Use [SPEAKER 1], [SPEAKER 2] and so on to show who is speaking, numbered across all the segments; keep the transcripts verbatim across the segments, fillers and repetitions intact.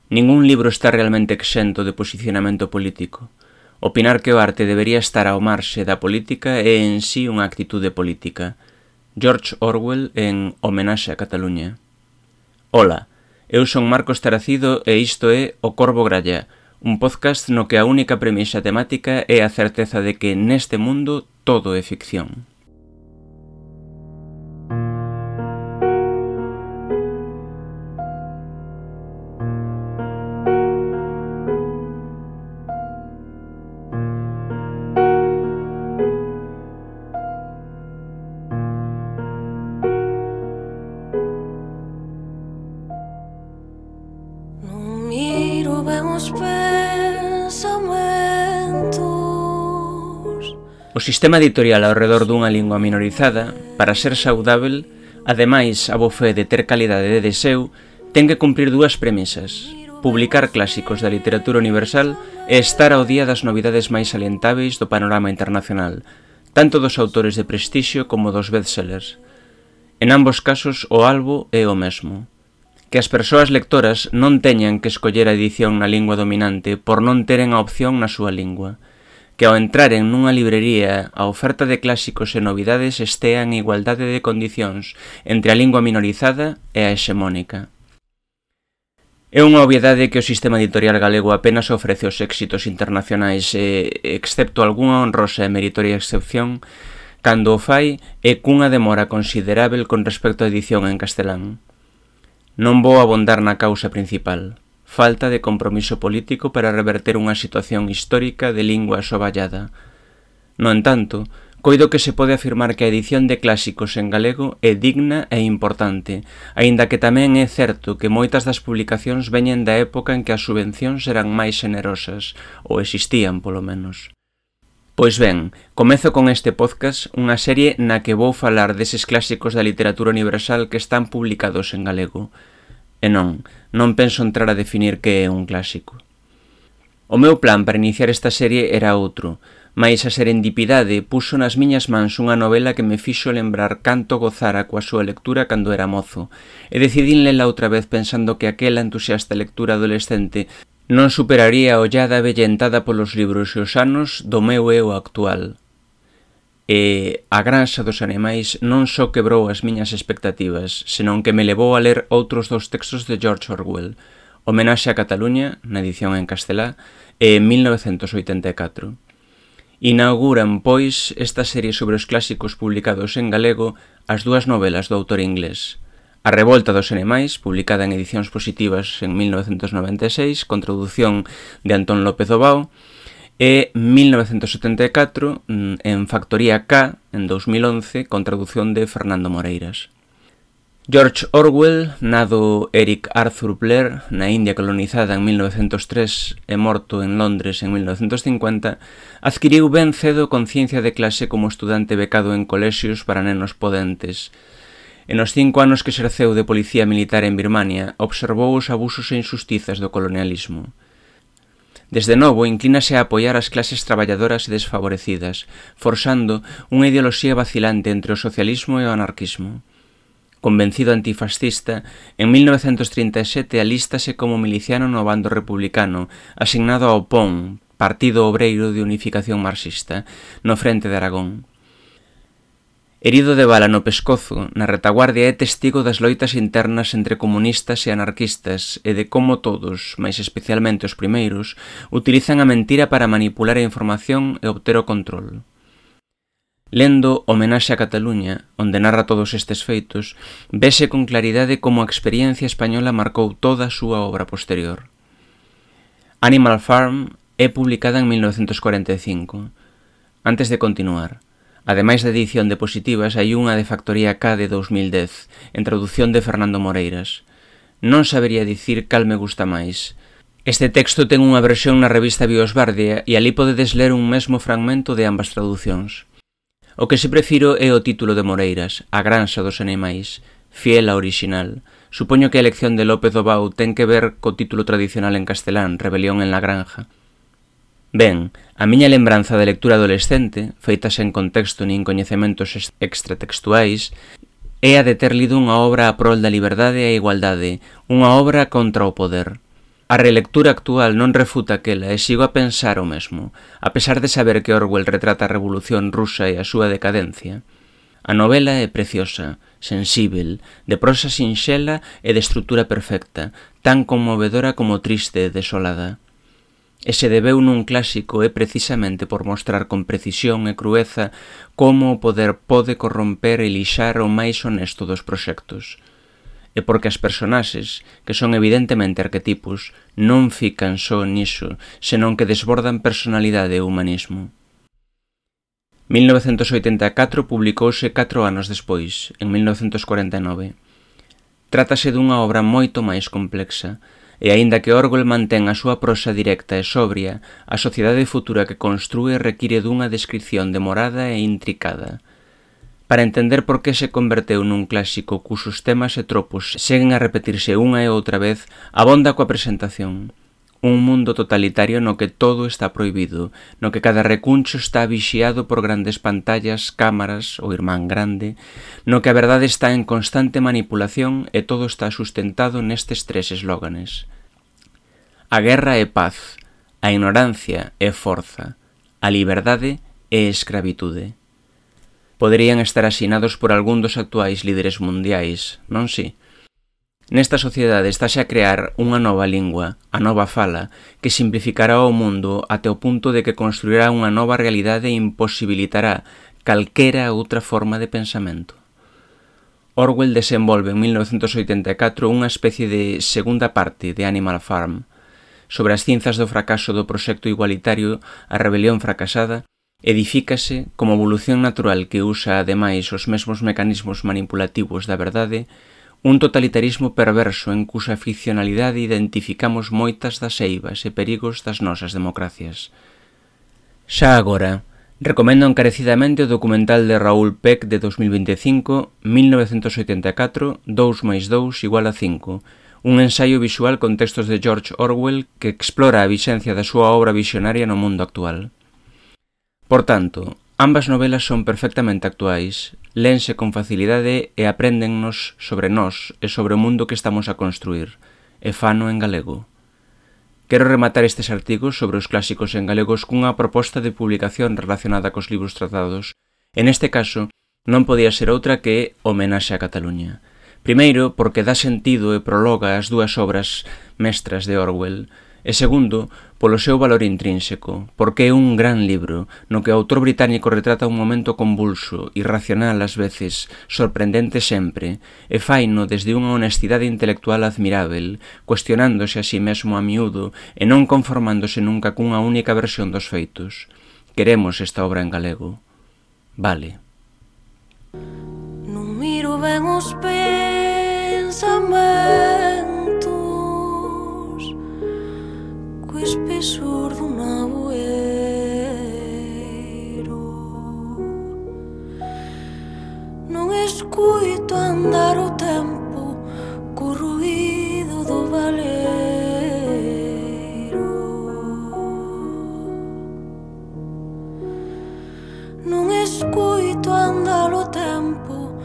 [SPEAKER 1] Ningún libro está realmente exento de posicionamento político. Opinar que o arte debería estar ao marxe da política é en sí unha actitude política. George Orwell en Homenaxe a Cataluña. Ola, eu son Marcos Taracido e isto é O Corvo Gralla, un podcast no que a única premisa temática é a certeza de que neste mundo todo é ficción. O sistema editorial ao redor dunha lingua minorizada, para ser saudável, ademais a bo fe de ter calidade de deseo, ten que cumprir dúas premisas: publicar clásicos da literatura universal e estar ao día das novidades máis salientáveis do panorama internacional, tanto dos autores de prestixio como dos bestsellers. En ambos casos o albo é o mesmo: que as persoas lectoras non teñan que escoller a edición na lingua dominante por non teren a opción na súa lingua, que ao entraren nunha librería a oferta de clásicos e novidades estea en igualdade de condicións entre a lingua minorizada e a hexemónica. É unha obviedade que o sistema editorial galego apenas ofrece os éxitos internacionais e, excepto algunha honrosa e meritoria excepción, cando o fai é cunha demora considerável con respecto á edición en castelán. Non vou abondar na causa principal: falta de compromiso político para reverter unha situación histórica de lingua asovallada. No entanto, coido que se pode afirmar que a edición de clásicos en galego é digna e importante, aínda que tamén é certo que moitas das publicacións veñen da época en que as subvencións eran máis generosas, ou existían polo menos. Pois ben, comezo con este podcast unha serie na que vou falar deses clásicos da literatura universal que están publicados en galego. E non, non penso entrar a definir que é un clásico. O meu plan para iniciar esta serie era outro, mais a serendipidade puxo nas miñas mans unha novela que me fixo lembrar canto gozara coa súa lectura cando era mozo, e decidín lela outra vez pensando que aquela entusiasta lectura adolescente non superaría a ollada avellentada polos libros e os anos do meu eu actual. E A Granxa dos Animais non só quebrou as miñas expectativas, senón que me levou a ler outros dous textos de George Orwell, Homenaxe a Cataluña, na edición en castelá, e mil novecentos oitenta e catro. Inauguran, pois, esta serie sobre os clásicos publicados en galego as dúas novelas do autor inglés: A Revolta dos Animais, publicada en edicións positivas en mil novecentos noventa e seis, con tradución de Antón López Obao, e mil novecentos setenta e catro en Factoría K, en dous mil once, con traducción de Fernando Moreiras. George Orwell, nado Eric Arthur Blair na India colonizada en mil novecentos tres e morto en Londres en mil novecentos cincuenta, adquiriu ben cedo conciencia de clase como estudante becado en colexios para nenos podentes. E nos cinco anos que exerceu de policía militar en Birmania, observou os abusos e injustizas do colonialismo. Desde novo, inclínase a apoiar as clases traballadoras e desfavorecidas, forxando unha ideoloxía vacilante entre o socialismo e o anarquismo. Convencido antifascista, en mil novecentos trinta e sete alístase como miliciano no bando republicano, asignado ao P O M, Partido Obreiro de Unificación Marxista, no frente de Aragón. Herido de bala no pescozo, na retaguardia é testigo das loitas internas entre comunistas e anarquistas e de como todos, máis especialmente os primeiros, utilizan a mentira para manipular a información e obter o control. Lendo Homenaxe a Cataluña, onde narra todos estes feitos, vese con claridade como a experiencia española marcou toda a súa obra posterior. Animal Farm é publicada en mil novecentos cuarenta e cinco. Antes de continuar, ademais da edición de positivas, hai unha de Factoría K de dous mil dez, en traducción de Fernando Moreiras. Non sabería dicir cal me gusta máis. Este texto ten unha versión na revista Biosbardia e ali podedes ler un mesmo fragmento de ambas traducións. O que se prefiro é o título de Moreiras, A Granxa dos Animais, fiel a original. Supoño que a elección de López Obao ten que ver co título tradicional en castelán, Rebelión en la Granja. Ben, a miña lembranza de lectura adolescente, feita sen contexto nin coñecementos extratextuais, é a de ter lido unha obra a prol da liberdade e a igualdade, unha obra contra o poder. A relectura actual non refuta aquela e sigo a pensar o mesmo, a pesar de saber que Orwell retrata a Revolución Rusa e a súa decadencia. A novela é preciosa, sensível, de prosa sinxela e de estrutura perfecta, tan conmovedora como triste e desolada. E se debeu nun clásico é precisamente por mostrar con precisión e crueza como o poder pode corromper e lixar o máis honesto dos proxectos. E porque as personaxes, que son evidentemente arquetipos, non fican só niso, senón que desbordan personalidade e humanismo. mil novecentos oitenta e catro publicouse catro anos despois, en mil novecentos cuarenta e nove. Trátase dunha obra moito máis complexa, e aínda que Orwell mantén a súa prosa directa e sobria, a sociedade futura que construe require dunha descripción demorada e intricada. Para entender por que se converteu nun clásico cuxos temas e tropos seguen a repetirse unha e outra vez, abonda coa presentación. Un mundo totalitario no que todo está prohibido, no que cada recuncho está vixiado por grandes pantallas, cámaras, o irmán grande, no que a verdade está en constante manipulación e todo está sustentado nestes tres eslóganes. A guerra é paz, a ignorancia é forza, a liberdade é escravitude. Poderían estar asinados por algún dos actuais líderes mundiais, non si? Nesta sociedade estáse a crear unha nova lingua, a nova fala, que simplificará o mundo até o punto de que construirá unha nova realidade e imposibilitará calquera outra forma de pensamento. Orwell desenvolve en mil novecentos oitenta e catro unha especie de segunda parte de Animal Farm, sobre as cinzas do fracaso do proxecto igualitario, a rebelión fracasada, edifícase como evolución natural que usa ademais os mesmos mecanismos manipulativos da verdade, un totalitarismo perverso en cuxa ficcionalidade identificamos moitas das eivas e perigos das nosas democracias. Xa agora, recomendo encarecidamente o documental de Raoul Peck de dos mil vinte e cinco, mil novecentos oitenta e catro, dous máis dous igual a cinco, un ensaio visual con textos de George Orwell que explora a vixencia da súa obra visionaria no mundo actual. Por tanto, ambas novelas son perfectamente actuais, léense con facilidade e apréndennos sobre nós e sobre o mundo que estamos a construir, e fano en galego. Quero rematar estes artigos sobre os clásicos en galegos cunha proposta de publicación relacionada cos libros tratados, e neste caso non podía ser outra que Homenaxe a Cataluña. Primeiro, porque dá sentido e prologa as dúas obras mestras de Orwell, e segundo, polo seu valor intrínseco, porque é un gran libro no que o autor británico retrata un momento convulso, irracional ás veces, sorprendente sempre, e faino desde unha honestidade intelectual admirável, cuestionándose a si mesmo a miúdo e non conformándose nunca cunha única versión dos feitos. Queremos esta obra en galego. Vale.
[SPEAKER 2] Non miro ben os pensamentos co espesor dun aboeiro. Non escuito andar o tempo co ruído do valeiro. Non escuito andar o tempo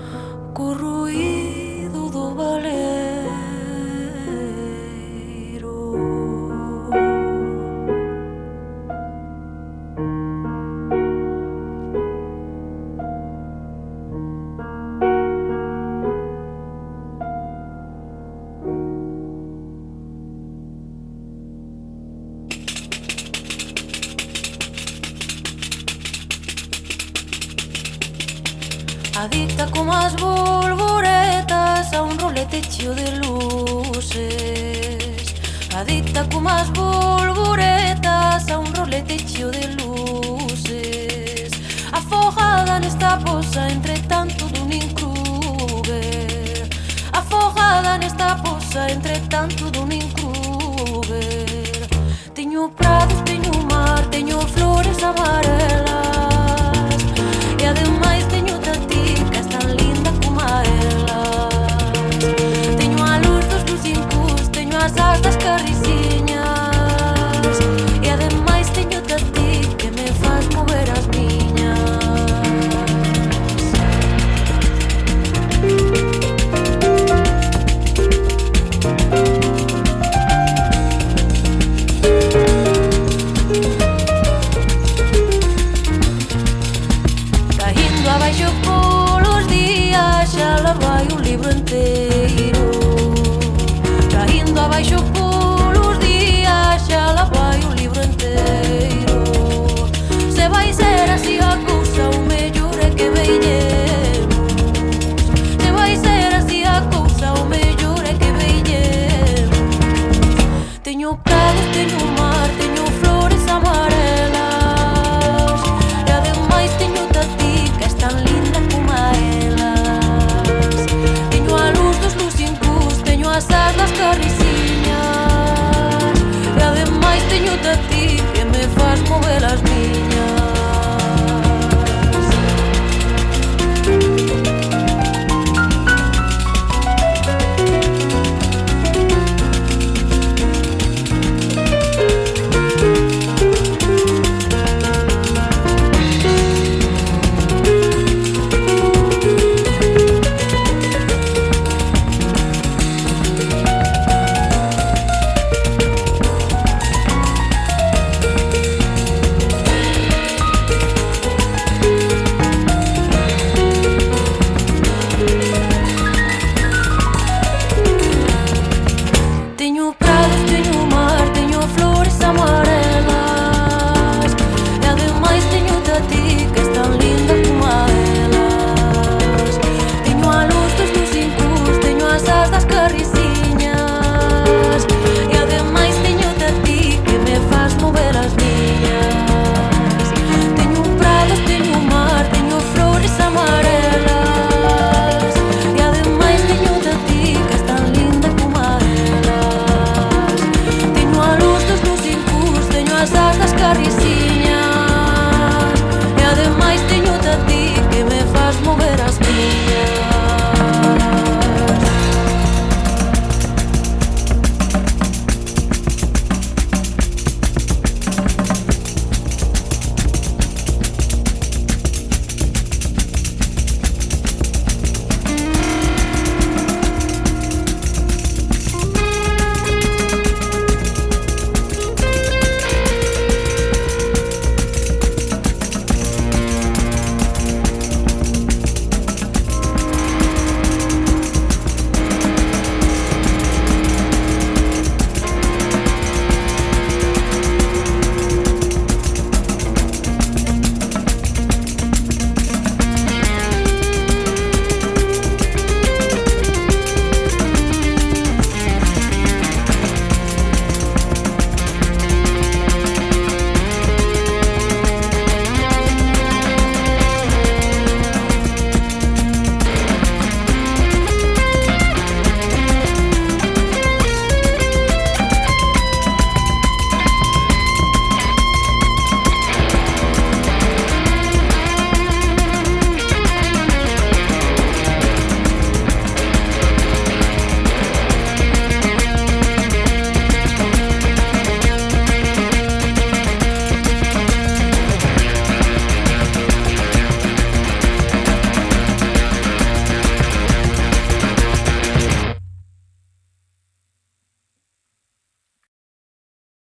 [SPEAKER 2] co ruído do valeiro. Adicta como as bolboretas a un rolete cheo de luces. Adicta como as bolboretas a un rolete cheo de luces. Afogada nesta poza entre tanto dun Kruger. Afogada nesta poza entre tanto dun Kruger. Teño prados, teño mar, teño flores amarelas. E ademais teño taticas tan linda como elas. Teño a luz dos lucincus, teño as asas carriciñas. E ademais teño tatic que me faz mover as miñas. Teño prados, teño mar, teño flores amarelas. E ademais teño a ti, que es tan linda como elas. Teño a luz dos lucincús, teño as as das carriciñas. E ademais teño a ti, que me faz mover as miñas. Teño prados, teño mar, teño flores amarelas. E ademais teño a ti, que es tan linda como elas. Teño a luz dos lucincús, teño as as das carriciñas. E ademais teño a ti, que me faz mover as miñas. Teño prados, teño mar, teño flores amarelas. E ademais teño a ti, que es tan linda como elas. Teño a luz dos lucincús, teño as as das carriciñas.